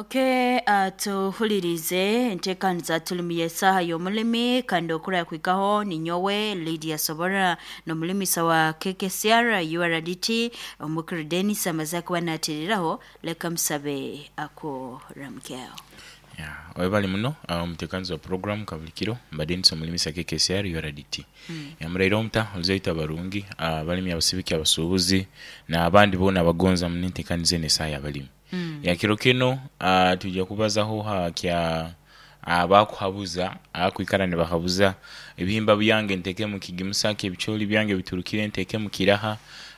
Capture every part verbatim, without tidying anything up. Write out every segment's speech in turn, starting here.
Okay, uh, tuhulirize enteekaniza tulimu y'esaaha y'omulimi kandi okura kwikaho ninyowe Lydia Sobora n'omulimisa wa K K C R U R D T, omukuru Dennis amaze kuba natiriraho. Leka musabe akuramukyeho. Yeah, webali muno uh, omuteekanizi wa program kabulikiro mba Denis, omulimisa K K C R U R D T. mm. Yamuraire omuta oluzaito abarungi, abalimi, abasibiki, abasuubuzi n'abandi boona abagonza muno enteekaniza eno, esaaha y'abalimi. mm. Ya kiro kino uh, tujja kubazaho ha kya abakuhabuza, akwikara nibahabuza ebihimba byange nteeke mu kigimusa ki, ebicooli byange biturukire nteeke mu kiraha,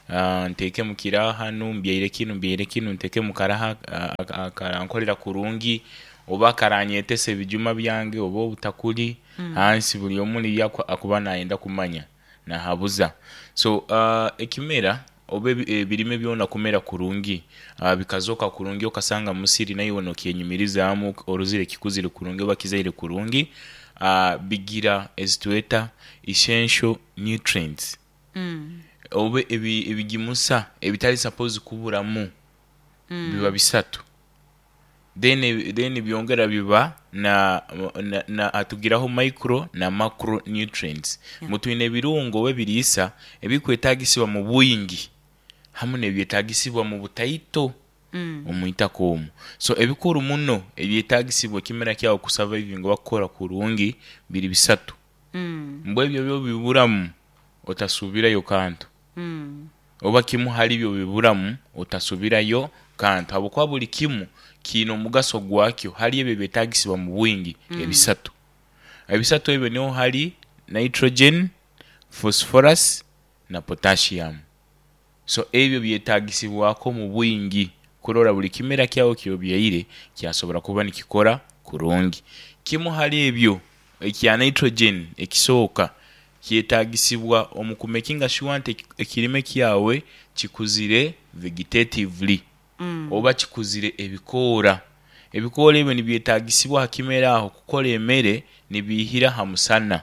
uh, nteeke mu kiraha hanu, mbyaire kinu, mbyaire kinu, nteeke mu karaha uh, karankolera kurungi oba karanyetesa ebijuma byange oba obutakuli mm. hansi. Buli omu niyo akuba nayenda kumanya nahabuza. So uh, ekimera oba ebirime byona kumera kurungi, uh, bikazoka kurungi, okasanga musiri naiwe nokyenyumirizaamu orozire kikuzire kurungi oba kizaire kurungi, uh, bigira ezitweta essential nutrients mm. oba ebi, ebigimusa ebitali suppose kuburamu mm. biba bisatu. then then byongera biba na, na, na atugiraho micro na macro nutrients. Yeah. Mutwine ebirungo oba ebiriisa ebikwetagisibwa mu bwingi hamu n'ebyetagisibwa mu butaito Mm. omwitaka omwo. So ebikuru muno ebyetagisibwa ekimera kyawe kusurvivinga oba kukora kurungi biri bisatu. Mm. Mbwe ebyo byo biburamu, otasubirayo kantu. Mm. Oba kimu hali byo biburamu, otasubirayo kantu, habwokuba buli kimu kiine omugaso gwakyo hali ebyo ebyetagisibwa mu bwingi. Mm. Ebisatu ebisatu ebyo niho hali nitrogen, phosphorus na potassium. So ebyo byetagisibwako mu bwingi kurora buli kimera kyawe kyobyaire kyasobora kuba nikikora kurungi. Kimu hali ebyo, ekya nitrogen, ekisooka kyetagisibwa omu kumakinga sure nti ekirime kyawe kikuzire vegetatively Mm. oba kikuzire ebikoora. Ebikoora ebyo nibyetagisibwa ha kimera aho kukora emere nibiihira ha musana.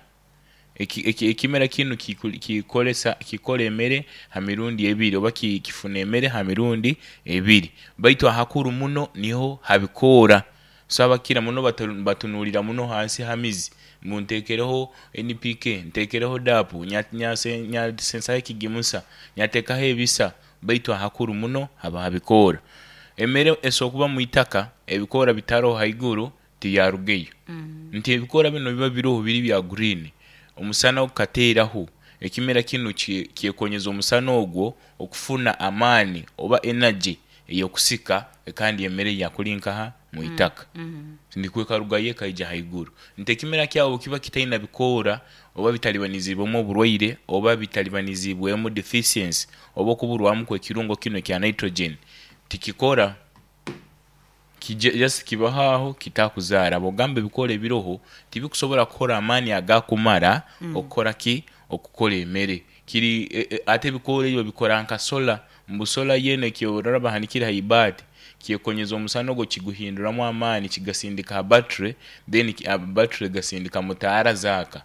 Eki- eki- ekimera kinu kikolesa kikora emere ha mirundi ebiri oba kifuna emere ha mirundi ebiri, baitu ahakuru muno niho habikoora. So abakira muno batunuulira muno hansi ha mizi ngu ntekereho N P K, ntekereho D A P, nyasensaho ekigimusa, nyateekaho ebisa, baitu ahakuru muno haba habikoora. Emere esobora kuba mwitaka, ebikoora bitaroho haiguru, tiyarugayo. Mm. Nti ebikoora binu biba biroho biri bya green, omusana ogukateeraho ekimera kinu kyekonyeza omusana ogwo okufuna amaani oba energy ey'okusika kandi emere yakuli nkaha mwitaka Mm. nikwo ekarugayo ekaija haiguru. Nti ekimera kyawe obu kiba kitaina bikoora oba bitalibanizibwemu oburwaire oba bitalibanizibwemu deficiency oba okuburwamu kw'ekirungo kinu ekya nitrogen, tikikora, just kibaho aho kitakuzaara. Bwogamba ebikoora ebiroho tibikusobora kukora amaani agakumara Mm. okukora ki, okukora emere kiri. e, e, ate ebikoora ebyo bikora nka solar, mbu solar yena ekyorora bahanikire ha ibaati kyekonyeza omusana ogwo kiguhinduramu amaani, kigasindika ha battery, then battery egasindika mu taara zaaka.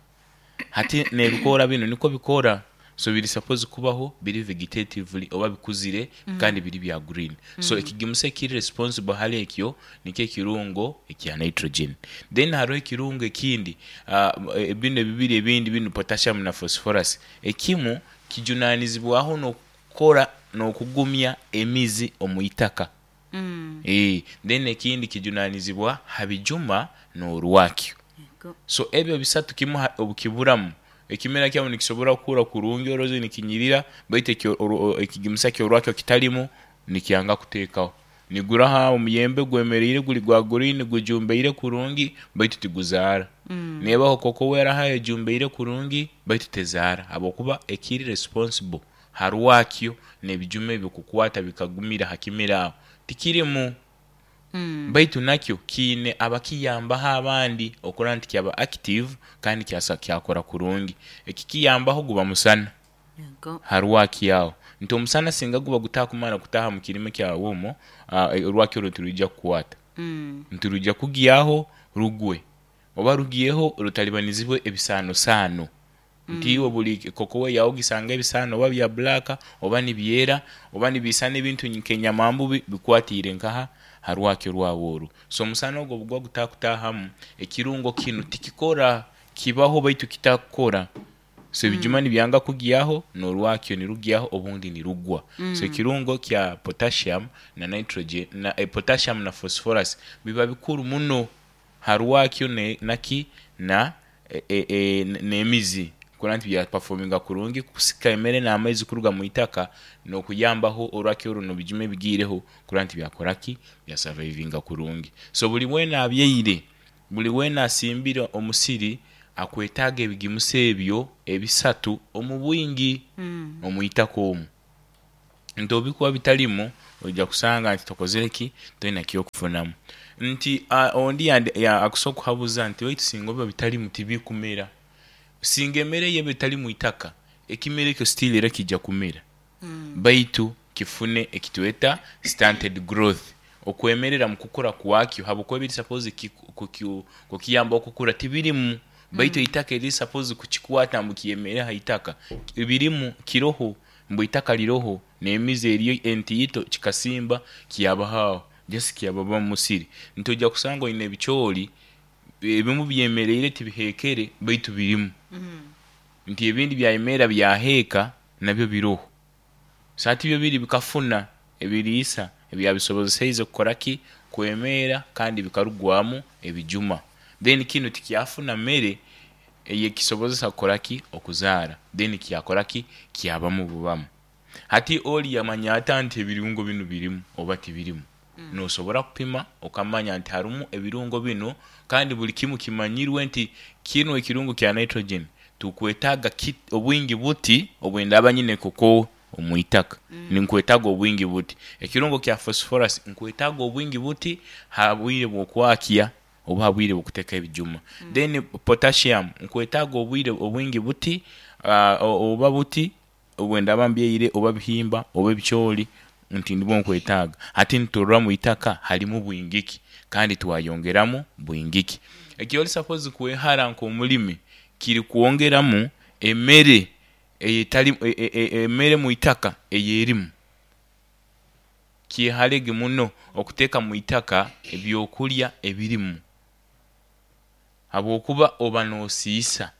Hati n'ebikoora binu nikwo bikora. So biri suppose kubaho biri vegetatively oba bikuzire Mm. kandi biri bya green. So Mm. ekigimusa ekiri responsible hali ekyo nikyo ekirungo ekya nitrogen. Then haroho ekirungo ekindi, uh, binu ebibiri ebindi binu, potassium na phosphorus. Ekimu kijunanizibwaho n'okukora n'okugumya emizi omu itaka. Mm. E, then ekindi kijunanizibwa ha bijuma n'orwakyo. Yego. So ebyo bisatu kimu obukiburamu, ekimera kyawe nikisobora kukura kurungi, oroze nikinyirira, baitu ekigimusa ky'orwakyo kitalimu, nikyanga kuteekaho. Niguraho omuyembe gwemeriire guli gwa green, gujumbaire kurungi, baitu tiguzaara. Mm. Nebaho koko weraha ejumbaire kurungi, baitu tezaara, habwokuba ekiri responsible ha rwakyo n'ebijuma ebyo kukwata bikagumira ha kimera aho tikirimu. Mm. Baitu nakyo kiine abakiyambaho abandi okurora nti kyaba active kandi kyasa kyakora kurungi. Ekikiyambaho guba musana Yego. ha rwakyo aho, nti omusana singa guba gutakumara kutaaha mu kirime kyawe omwo, uh, orwakyo orwo tirwija kukwata. Mm. Nti rujya kugyaho rugwe oba rugiyeho rutalibanizibwe ebisaanosaano. Nti iwe buli kokowe yawe ogisanga ebisaano oba bya black oba nibyera oba nibiisana ebintu nk'enyamambubi bikwatiire nkaha Harwakyo rwawe oru. So omusana ogwo obugwa gutakutahamu, ekirungo kinu tikikora, kibaho baitu kitakukora. So ebijuma nibyanga kugyaho, n'orwakyo nirugyaho, obundi nirugwa. So ekirungo kya potassium na nitrogen na eh, potassium na phosphorus biba bikuru muno harwakyo ne, naki na e, e, e, n'emizi kurora nti byaperforminga kurungi kusika emere n'amaizi kuruga mu itaka, n'okuyambaho orwakyo runo bijuma ebigiireho kurora nti byakora ki, byasurvivinga kurungi. So buli weena abyaire, buli weena asimbire omusiri akwetaaga ebigimusa ebyo ebisatu omu bwingi Mm. omu itaka omu. Nti obikuba bitalimu, oija kusanga nti tokozere ki, toina kyokufunamu. Nti uh, ondi yandi- ya- akusobola kuhabuza nti baitu singa biba bitalimu tibikumera. Singa emere yeba etali mu itaka, ekimera ekyo still era kijja kumera, Mm. baitu kifune ekitweta stunted growth, okwemerera mu kukura kwakyo, habwokuba ebiri suppose kukiyamba okukura tibirimu, baitu eitaka eriri suppose kukikwata mbu kiyemere ha itaka birimu, kiroho mbu itaka liroho n'emizi eriyo entiito, kikasimba kyabahaho just kyababa mu musiri. Nti ojja kusanga oine ebicoori ebimu byemereire tibihekere baitu birimu, Mm. nti ebindi byayemera byaheeka nabyo biroho. So hati byo biri bikafuna ebiriisa ebyabisobozeseize kukora ki, kwemera, kandi bikarugwamu ebijuma. Then kinu tikyafuna mere eyekisobozesa kukora ki, okuzaara, then kyakora ki, kyabamu bubamu. Hati oli yamanya ata nti ebirungo binu birimu oba tibirimu? Nosobora kupima okamanya nti harumu ebirungo binu, kandi buli kimu kimanyirwe nti kinu ekirungo kya nitrogen tukwetaaga ki- obwingi buti obwendaba nyine koko omu itaka, ninkwetaaga obwingi buti. Ekirungo kya phosphorus nkwetaaga obwingi buti ha bwire bw'okwakya oba ha bwire bw'okuteeka ebijuma. Then potassium nkwetaaga obwire obwingi buti, uh, oba buti obwendaba mbyaire oba bihimba oba ebicoori, nti nibwo nkwetaaga. Hati niturora mu itaka halimu bwingi ki, kandi twayongeramu bwingi ki. Ekyoli suppose kwehara nk'omulimi kiri kwongeramu emere eyetali e- e- e- emere mu itaka eyerimu. Kyeharege muno okuteeka mu itaka ebyokulya ebirimu, habwokuba oba noosiisa.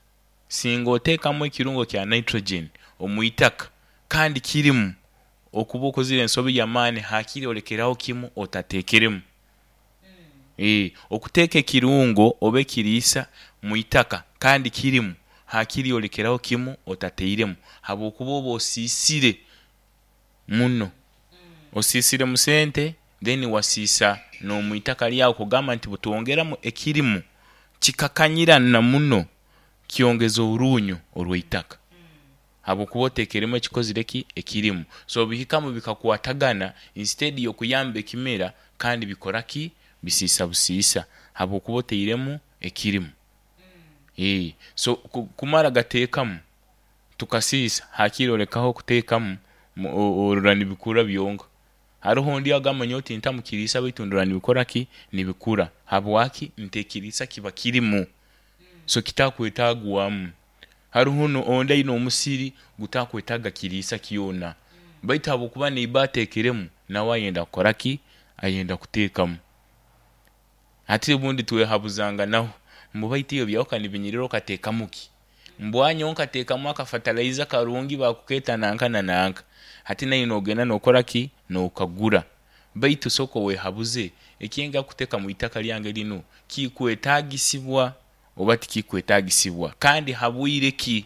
Singa oteekamu ekirungo kya nitrogen omu itaka kandi kirimu, okuba okozire ensobi y'amaani, hakiri olekeraho kimu otateekeremu. Eh, okuteeka ekirungo oba ekiriisa mu itaka kandi kirimu, hakiri olekeraho kimu otateiremu, habwokuba oba osiisire muno, osiisire mu sente, then wasiisa n'omu itaka lyawe, kugamba nti butwongeramu ekirimu kikakanyirana muno, kyongeza orunyo orw'eitaka, habwokuba oteekeremu ekikozire ki, ekirimu. So bihikamu bikakwatagana, instead y'okuyamba ekimera, kandi bikora ki, bisiisa busiisa, habwokuba oteiremu ekirimu. Eh, so ku- kumara gateekamu tukasiisa, hakiri olekaho okuteekamu, mu- o- orora nibikura byonka. Haroho ondi agamba nyowe tintamu kiriisa baitu ndora nibikora ki, nibikura. Habwaki? Nti ekiriisa kiba kirimu, so kitakwetaagwamu. Haroho no ondi aine omusiri gutakwetaaga kiriisa kyona, baitu habwokuba neiba ateekeremu, nawe ayenda kukora ki, ayenda kuteekamu. Hati obundi twehabuzanganaho mbu baitu iyo byawuka nibinyirira okateekamu ki, mbwanyowe nkateekamu akafertilizer karungi bakukeeta nanka na nanka. Hati nawe nogenda nokora ki, nokagura. Baitu sooka wehabuze, ekyenga kuteeka mu itaka lyange linu kikwetaagisibwa oba tikikwetaagisibwa, kandi habwire ki?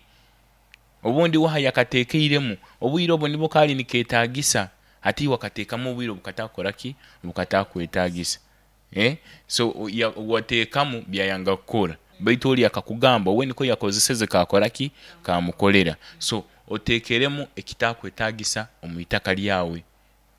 Obundi waha yakateekeiremu obwire obwo nibwo kaali nikeetaagisa, hati iwe akateekamu obwire obukatakora ki, obukatakwetaagisa. Eh? So ya- wateekamu byayanga kukora, baitu oli akakugamba we niko yakozeseze kakora ki, kamukolera. So oteekeremu ekitakwetaagisa omu itaka lyawe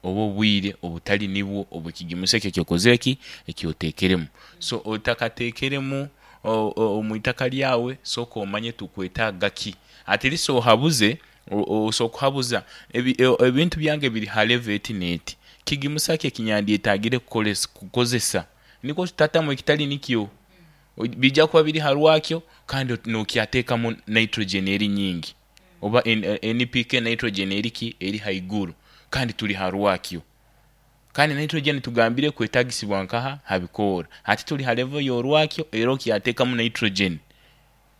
oba obwire obutali nibwo obw'ekigimusa ekyo ekyokozere ki, ekyoteekeremu. So otakateekeremu o- o- omu itaka lyawe, sooka omanye tukwetaaga ki. At least ohabuze, o- osobola kuhabuza ebi- e- ebintu byange biri ha level eti n'eti, kigimusa ki ekinyandyetaagire kukolesa kukozesa, nikwo tutatamu ekitali nikyo. O- bijja kuba biri ha rwakyo kandi nokyateekamu nitrogen eri nyingi oba N- N P K nitrogen eri ki, eri haiguru, kandi tuli ha rwakyo. Kandi nitrogen tugambire kwetagisibwa nkaha habikora. Hati tuli ha level y'orwakyo era okyateekamu nitrogen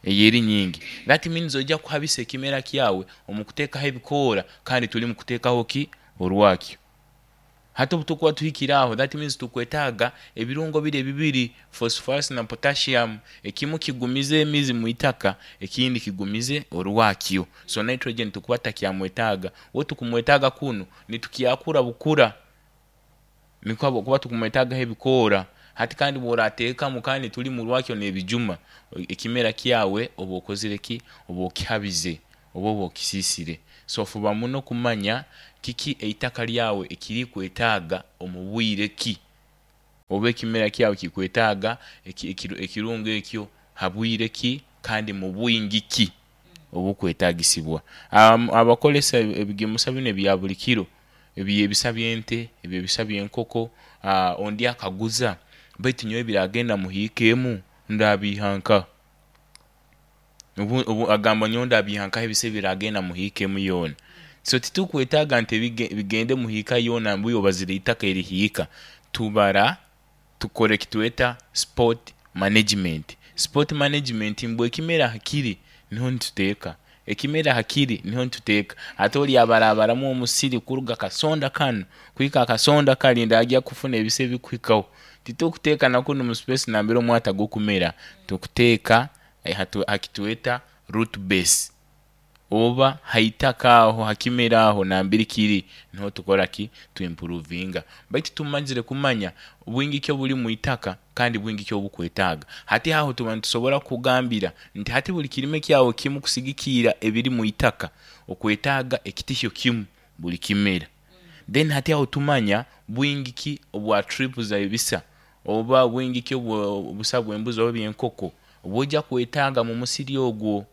eyeri nyingi. That means ojja kuhabisa ekimera kyawe omu kuteekaho ebikoora kandi tuli mu kuteekaho ki orwakyo. Hati obu tukuba tuhikire aho, that means tukwetaaga ebirungo biri ebibiri, phosphorus na potassium. Ekimu kigumize emizi mu itaka, ekindi kigumize orwakyo. So nitrogen tukuba tutakyamwetaaga. We tukumwetaaga kunu nitukyakura bukura, nikwo habwokuba tukumwetaagaho ebikoora. Hati kandi bw'orateekamu kandi tuli mu rwakyo n'ebijuma, ekimera kyawe oba okozire ki? Oba okihabize oba oba okisiisire. So fuba muno kumanya kiki eitaka lyawe ekirikwetaaga omu bwire ki, oba ekimera kyawe kikwetaaga ekirungo ekyo ha bwire ki kandi mu bwingi ki obukwetaagisibwa. Um, abakozesa ebigimusa binu ebya buli kiro, eby'ebisa by'ente, eby'ebisa by'enkoko, uh, ondi akaguza baitu nyowe biragenda muhiika emu ndabiiha nkaha? Obu, obu agamba nyowe ndabiiha nkaha ebisa ebiragenda muhiika emu yoona? So titukwetaaga nti bigende muhiika yoona mbu obazire itaka erihiika. Tubara tukora ekitweta spot management. Spot management mbwe ekimera hakiri niho nituteeka, ekimera hakiri niho nituteeka. Ate oli abarabaramu omusiri kuruga kasonda kanu kuhika akasonda kali ndagya kufuna ebisa ebikuhikaho. Titukuteeka na kunu mu space nambere omwata gukumera, tukuteeka hakitweta root base oba haitaka aho hakimera aho nambere kiri niho tukora ki? Tuimprovinga. Baitu tumazire kumanya bwingi ki obuli mu itaka kandi bwingi ki obukwetaaga. Hati aho tuba nitusobora kugambira nti hati buli kirime kyawe kimu kusigikiira ebiri mu itaka okwetaaga ekitihyo kimu buli kimera. Then hati aho tumanya bwingi ki obwa trip za ebisa oba bwingi ki obusa bw'embuzi oba by'enkoko obwojja kwetaaga mu musiri ogwo.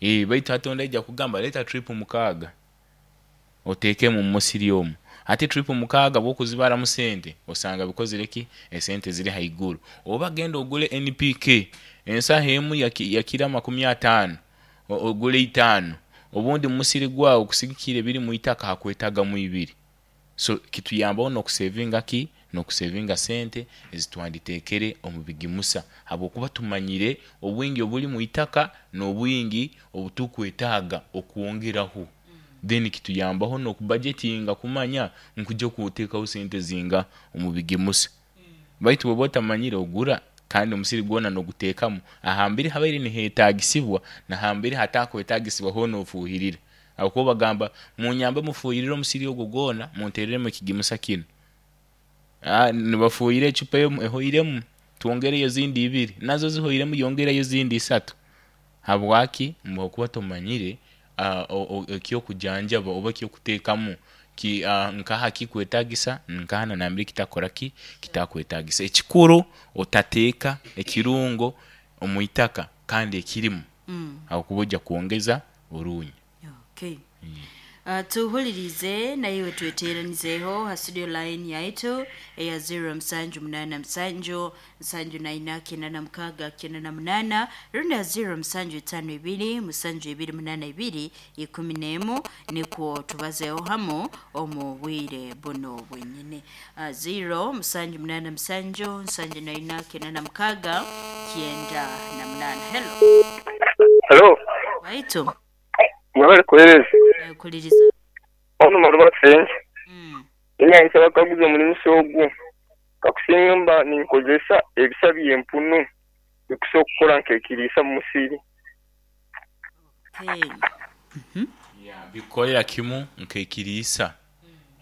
E, baitu hati ondi aija kugamba leeta trip mukaaga oteekemu mu musiri omu. Hati trip mukaaga bw'okuzibaramu sente osanga bikozire ki? Esente ziri haiguru. Oba genda ogule N P K ensaho emu yakira makumi ataano ogule itaano, obundi mu musiri gwawe kusigikira ebiri mu itaka hakwetaagamu ibiri. So kituyambaho n'okusevinga ki? N'okusevinga sente ezitwanditeekere omu bigimusa, habwokuba tumanyire obwingi obuli mu itaka n'obwingi obutukwetaaga okwongeraho. Then kituyambaho n'okubajetinga kumanya nkujja kuteekaho sente zinga omu bigimusa. Baitu bw'oba otamanyire ogura kandi omusiri gwona n'oguteekamu ahambiri habaire niheetaagisibwa nahambiri hatakwetaagisibwa hoona ofuuhirira. Habwokuba bagamba munyambe mufuuhirire omusiri ogwo gwona munteereremu ekigimusa kinu. Ah, nibafuuhira ecupa emu ehoiremu twongereyo ezindi ibiri, nazo zihoiremu yongereyo ezindi isatu. Habwaki? Habwokuba tomanyire ekyokujanjaba oba ekyokuteekamu ki nkaha kikwetaagisa nkaha nambere kitakora ki? Kitakwetaagisa. Ekikuru otateeka ekirungo omu itaka kandi ekirimu, habwokuba ojja kwongeza orunya. Okay. Uh, tuhulirize naiwe tweteranizeho ha studio line yaitu eya zero musanju munana musanju nsanju naina kenda na mukaga kenda na munana rundi ya zero musanju itano ibiri musanju ibiri munana ibiri ikumi n'emu, nikwo tubazeho hamu omu bwire buno bwenyine. Uh, zero musanju munana musanju nsanju naina kenda na mukaga kenda na munana. Hello. Hello. Waitu. Mwabale kuhereza. Kuliriza. Ono maruba sense. Mm. Enya nsaba kaguza omulimu ogwo. Kakusinga mba ninkozesa ebisa by'empunu bikusobola kukora nk'ekiriisa mu musiri. Okay. Mm-hmm. Yeah, bikorera kimu nk'ekiriisa.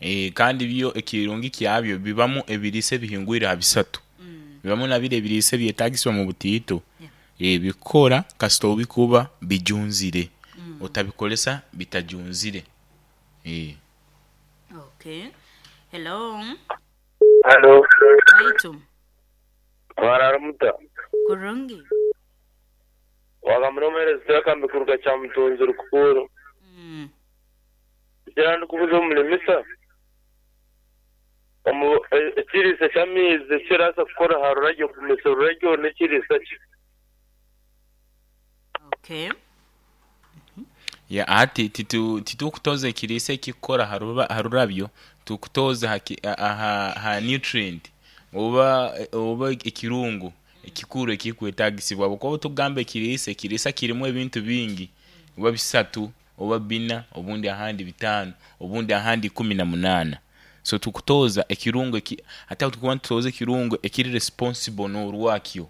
Eh, kandi byo ekirungi kyabyo bibamu ebiriisa ebihingwire ha bisatu. Mm. Bibamu nabire ebiriisa ebyetaagisibwa mu butiito. Yeah. Eh, bikora kasita obikuba bijunzire. Mm. Otabikolesa bitajunzire. Eh. Okay. Hello. Hello. Waitu. Wararamuta. Kurungi. Wakamuromereza kambi kuruga cha mutunzi rukuru. Mm. Kira ndikubuza omulimisa. Omu ekiriisa ky'amaizi kirasa kukora ha ruragyo kumesa oruragyo n'ekiriisa ki. Okay. Ya ati titu titukutoza ekiriisa ekikukora haruba harurabyo, tukutoza haki, aha, ha nutrient oba oba ekirungo ekikuru ekikwetagisibwa. Habwokuba tugamba ekiriisa, ekiriisa kirimu ebintu bingi, oba bisatu oba bina, obundi ahandi bitaano, obundi ahandi ikumi na munaana. So tukutoza ekirungo eki ate aho tukuba nitutoza ekirungo ekiri responsible n'orwakyo.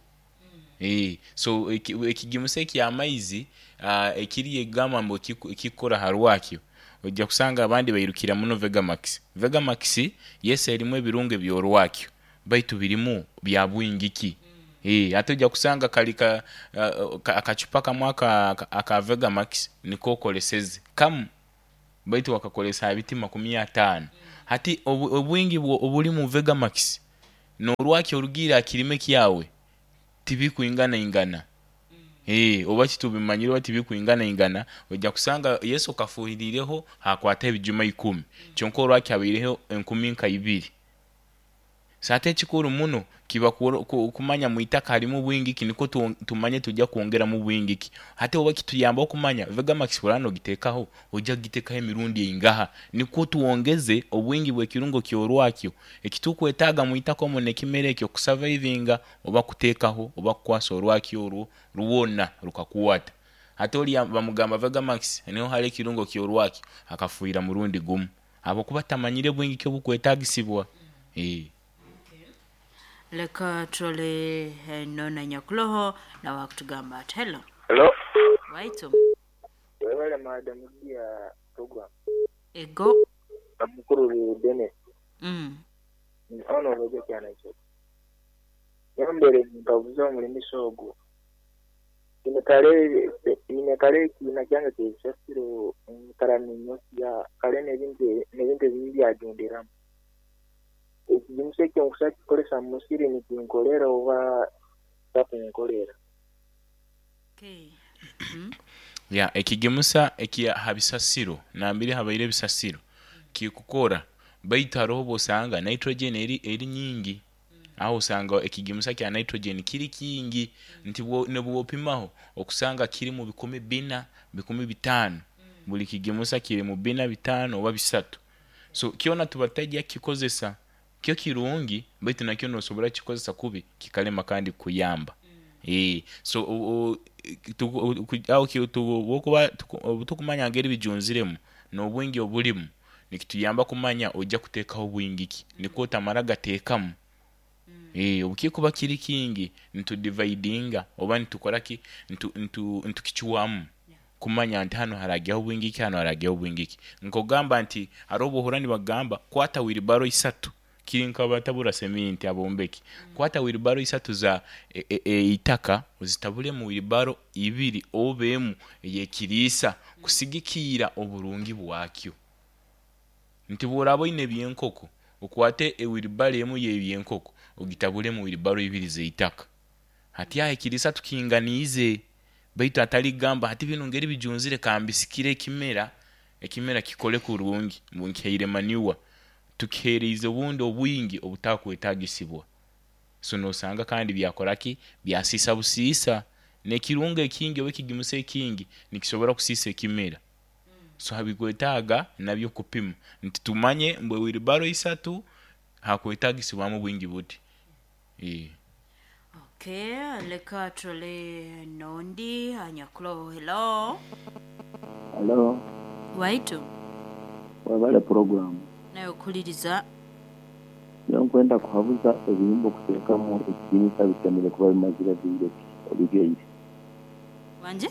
Eh, so ekigimusa ekyamaizi uh, ekiri egamba mbu ekikukora ha rwakyo, ojja kusanga abandi bairukira muno Vegamax. Vegamax yes erimu ebirungo eby'orwakyo, baitu birimu bya bwingi ki? Eh, ate ojja kusanga kali ka uh, akacupa kamwe aka, aka Vegamax niko okoleseze kamu, baitu wakakolesa ha biti makumi ataano. Hati obu, obwingi obuli mu Vegamax n'orwakyo orugiire aha kirime kyawe tibikwingana ingana. Eh, oba titubimanyire oba tibikwingana ingana, ojja kusanga Yesu okafuhiriireho hakwata ebijuma ikumi, kyonka orwakyo habaireho enkumi nka ibiri. So ate ekikuru muno kiba kumanya mwitaka harimu bwingi ki, nikwo tumanye tujja kwongeramu bwingi ki. Hati oba kituyamba okumanya Vegamax bw'oraaba nogiteekaho, ojja kugiteekaho emirundi eingaha, nikwo twongeze obwingi bw'ekirungo ky'orwakyo ekitukwetaaga mwitaka omwo n'ekimera ekyo kusavaivinga oba kuteekaho oba kukwasa orwakyo orwo rwona rukakwata. Hati oriya bamugamba Vegamax niho hariho ekirungo ky'orwakyo, akafuhira murundi gumu habwokuba tamanyire bwingi ki obukwetaagisibwa. Eh. Leka turole nona nyakuloho nawe akutugamba ati hello. Hello. Waitu. Webale madam ya program. Ego. Mukuru Dennis. Mm. Ono oje kyana ekyo. Yambere nkabuza omulimisa ogwo. Ine kale ine kale kiina kyange kyebisasiro nkara ninyosia kale n'ebintu n'ebintu ebindi byajundiramu. Ekigimusa ekyo nkusa kikolesa mu musiri nikinkolera oba takunkolera. Okay. Mm. Ya ekigimusa ekya ha bisasiro nambiri habaire ebisasiro kikukora, baitu haroho obwosanga nitrogen eri eri nyingi, aho osanga ekigimusa kya nitrogen kiri kingi nti nibwopimaho okusanga kiri mu bikumi bina bikumi bitaano, buli kigimusa kiri mu bina bitaano oba bisatu. So kyona tuba tutajja kukikozesa, kyo kirungi baitu nakyo nosobora kukikozesa kubi kikalema kandi kukuyamba. Eh, so aho obutukuba tukumanya ngeri bijunziremu n'obwingi obulimu nikituyamba kumanya ojja kuteekaho bwingi ki, nikwo otamara gateekamu. Eh, obukikuba kiri kingi nitudividinga oba nitukora ki, nitukichwamu kumanya nti hano haragyaho bwingi ki, hano haragyaho bwingi ki. Nkogamba nti hariho obuhura nibagamba kwata wiribaro isatu, kiri nkabatabura seminti abombeki, kwata wiribaro isatu za eitaka e, e, ozitabule mu wiribaro ibiri obemu eyekiriisa kusigikiira oburungi bwakyo. Nti bw'oraba oine ebyenkoko okwate ewiribaro emu y'ebyenkoko ogitabule mu wiribaro ibiri z'eitaka. Hati aho ekiriisa tukinganiize, baitu atali kugamba hati binu ngeri bijunzire kambisikire ekimera, ekimera kikole kurungi ngu nkihaire manure, tukiheeriize obundi obwingi obutakwetaagisibwa. So nosanga kandi byakora ki, byasiisa busiisa, n'ekirungo ekingi oba ekigimusa ekingi nikisobora kusiisa ekimera. So habikwetaaga nabyo kupima nti tumanye ngu ewiribaro isatu hakwetaagisibwamu bwingi buti. Eh. Okay, leka turole nondi anyakuloho. Hello. Hello. Waitu. Webale program. Nawe okuliriza. Nyo nkwenda kuhabuza ebihimba okuteekamu ekigimusa bisemere kuba bimazire bwire ki obigeire. Wanje?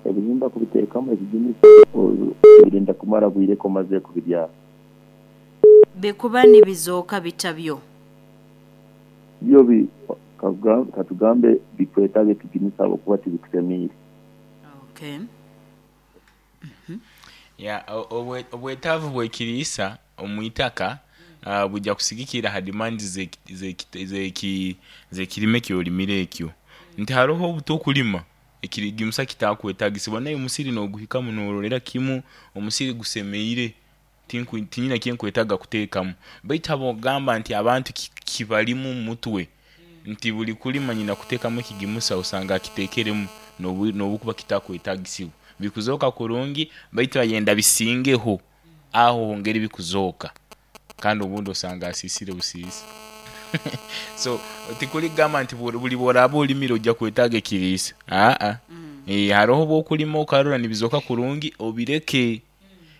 Ebihimba kubiteekamu ekigimusa birinda kumara bwire ko omaze kubibyara. Bikuba nibizooka bitabyo. Byo bi katugambe bikwetaaga ekigimusa habwokuba tibikusemiire. Okay. Mm-hmm. Ya obwetaavu bw'ekiriisa omwitaka uh, bujja kusigikira ha demands z'ekirime ekyolimire ekyo. Nti haroho obutokulima ekirigimusa kitakwetaagisibwa, naye omusiri n'oguhikamu n'orolera kimu omusiri gusemeire, tinyina kyenkwetaaga kuteekamu. Baitu habw'okugamba nti abantu kibalimu mutwe nti buli kulima nyina kuteekamu ekigimusa osanga akiteekeremu n'obukuba kitakwetaagisibwa. Bikuzooka kurungi, baitu ayenda bisingeho aho ngeri bikuzooka, kandi obundi osanga asiisire busiisi. So tikuligamba nti buli buli bworaaba olimire ojja kwetaaga ekiriisa, aa, eh, haroho obu okulima okarora nibizooka kurungi, obireke.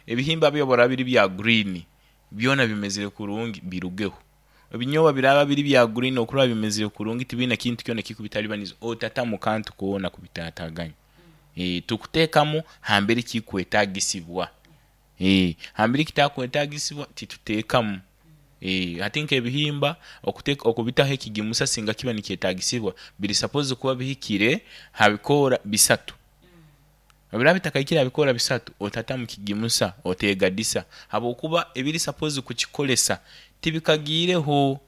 Ebihimba byo obu biraaba biri bya green, byona bimezere kurungi, birugeho. Ebinyoobwa biraaba biri bya green, okurora bimezere kurungi, tibiina kintu kyona ekikubitalibaniza, otatamu kantu koona kubitaataaganya. Eh, tukuteekamu hambere kikwetaagisibwa, eh, hambere kitakwetaagisibwa tituteekamu. Eh, hati nk'ebihimba okuteeka okubitaho ekigimusa singa kiba nikyetaagisibwa, biri supposed kuba bihikire ha bikoora bisatu. Obu biraaba bitakahikire ha bikoora bisatu, otatamu kigimusa, oteegadisa habwokuba ebiri supposed kukikolesa tibikagiireho.